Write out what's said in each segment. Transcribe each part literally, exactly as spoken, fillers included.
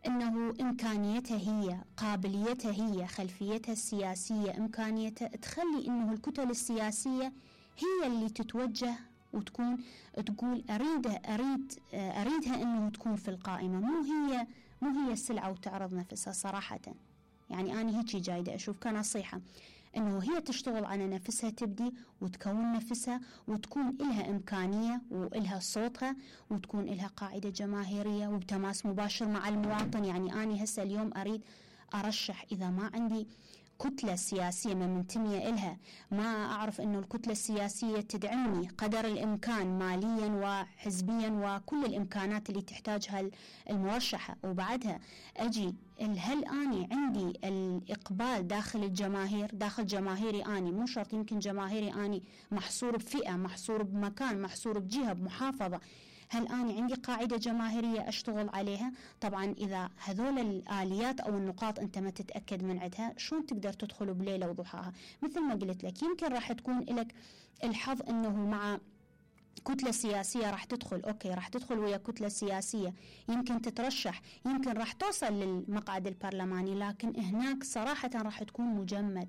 أنه إمكانيتها هي، قابليتها هي، خلفيتها السياسية، إمكانيتها تخلي أنه الكتل السياسية هي اللي تتوجه وتكون تقول أريد أريد أريدها أنه تكون في القائمة، مو هي مو هي السلعة وتعرض نفسها صراحة. يعني أنا هيك جايدة أشوف كنصيحة أنه هي تشتغل على نفسها، تبدي وتكون نفسها وتكون إلها إمكانية وإلها صوتها وتكون إلها قاعدة جماهيرية وبتماس مباشر مع المواطن. يعني أنا هسه اليوم أريد أرشح، إذا ما عندي كتلة سياسية ما منتمية إلها، ما أعرف أنه الكتلة السياسية تدعمني قدر الإمكان ماليا وحزبيا وكل الإمكانات اللي تحتاجها المرشحة، وبعدها أجي هل أني عندي الإقبال داخل الجماهير، داخل جماهيري أني، مو شرط يمكن جماهيري أني محصور بفئة، محصور بمكان، محصور بجهة، بمحافظة، هل أنا عندي قاعدة جماهيرية أشتغل عليها؟ طبعا إذا هذول الآليات أو النقاط أنت ما تتأكد من عندها، شلون تقدر تدخل بليلة وضحاها؟ مثل ما قلت لك، يمكن راح تكون لك الحظ أنه مع كتلة سياسية راح تدخل، أوكي راح تدخل ويا كتلة سياسية، يمكن تترشح، يمكن راح توصل للمقعد البرلماني، لكن هناك صراحة راح تكون مجمد،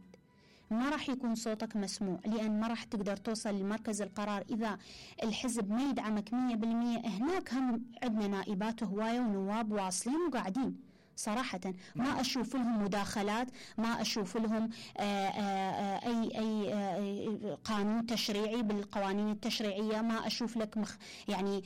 ما راح يكون صوتك مسموع، لأن ما راح تقدر توصل لمركز القرار إذا الحزب ما يدعمك مية بالمية. هناك هم عندنا نائبات هواية ونواب واصلين وقاعدين صراحة، ما أشوف لهم مداخلات، ما أشوف لهم آآ آآ أي أي آآ قانون تشريعي بالقوانين التشريعية، ما أشوف لك مخ يعني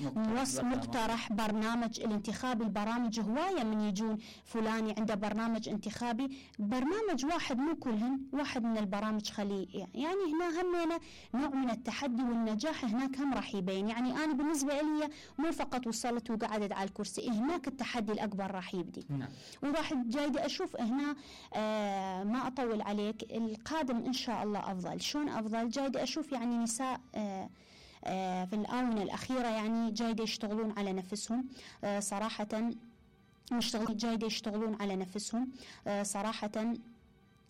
مقترح برنامج الانتخابي. البرامج هواية من يجون فلاني عنده برنامج انتخابي، برنامج واحد مو كلهن، واحد من البرامج خليه يعني هنا همنا نوع من التحدي والنجاح هناك هم راح يبين. يعني أنا بالنسبة لي مو فقط وصلت وقعدت على الكرسي، هناك التحدي الأكبر راح يبدي. نعم. وراح جايدة أشوف هنا آه ما أطول عليك، القادم إن شاء الله أفضل. شون أفضل؟ جايدة أشوف يعني نساء آه آه في الآونة الأخيرة يعني جايدة يشتغلون على نفسهم آه صراحة، مشتغلين جايدة يشتغلون على نفسهم آه صراحة،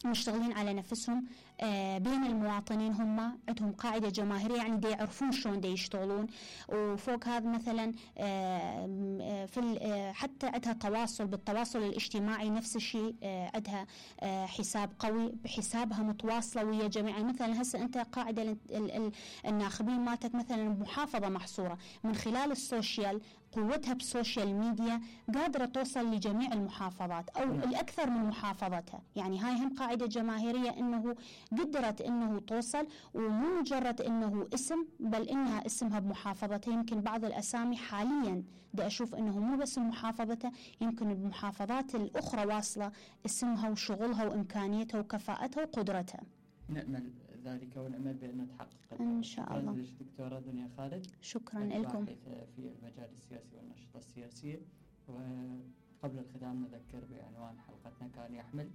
مشتغلين على نفسهم آه بين المواطنين، هم عندهم قاعدة جماهيرية، يعني دي يعرفون شلون دي يشتغلون. وفوق هذا مثلا آه في آه حتى عندها تواصل، بالتواصل الاجتماعي نفس الشيء، آه عندها آه حساب قوي، بحسابها متواصلة ويا جميع. مثلا هسه أنت قاعدة ال ال الناخبين مالتك مثلا محافظة محصورة، من خلال السوشيال، قوتها بالسوشيال ميديا قادرة توصل لجميع المحافظات أو الأكثر من محافظتها. يعني هاي هم قاعدة جماهيرية أنه قدرت أنه توصل، ومو مجرد أنه اسم، بل إنها اسمها بمحافظتها. يمكن بعض الأسامي حاليا دا أشوف أنه مو بس محافظتها، يمكن المحافظات الأخرى واصلة اسمها وشغلها وإمكانيتها وكفاءتها وقدرتها. نأمل ذلك ونأمل بأن تحقق إن شاء الله. دكتورة دنيا خالد، شكرا لكم. في المجال السياسي والنشطة السياسية. وقبل الختام نذكر بعنوان حلقتنا كان يحمل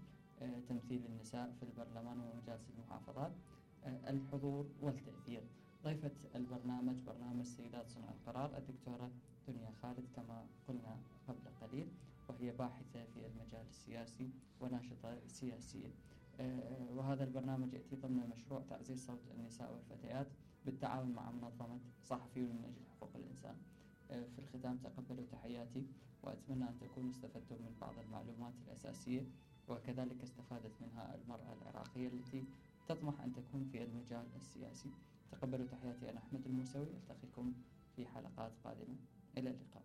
تمثيل النساء في البرلمان ومجالس المحافظات، الحضور والتأثير. ضيفة البرنامج برنامج سيدات صنع القرار الدكتورة دنيا خالد كما قلنا قبل قليل، وهي باحثة في المجال السياسي وناشطة سياسية. وهذا البرنامج يأتي ضمن مشروع تعزيز صوت النساء والفتيات بالتعاون مع منظمة صحفيون من أجل حقوق الإنسان. في الختام تقبلوا تحياتي، وأتمنى أن تكونوا استفدتم من بعض المعلومات الأساسية، وكذلك استفادت منها المرأة العراقية التي تطمح أن تكون في المجال السياسي. تقبلوا تحياتي، أنا أحمد الموسوي، ألتقيكم في حلقات قادمة، إلى اللقاء.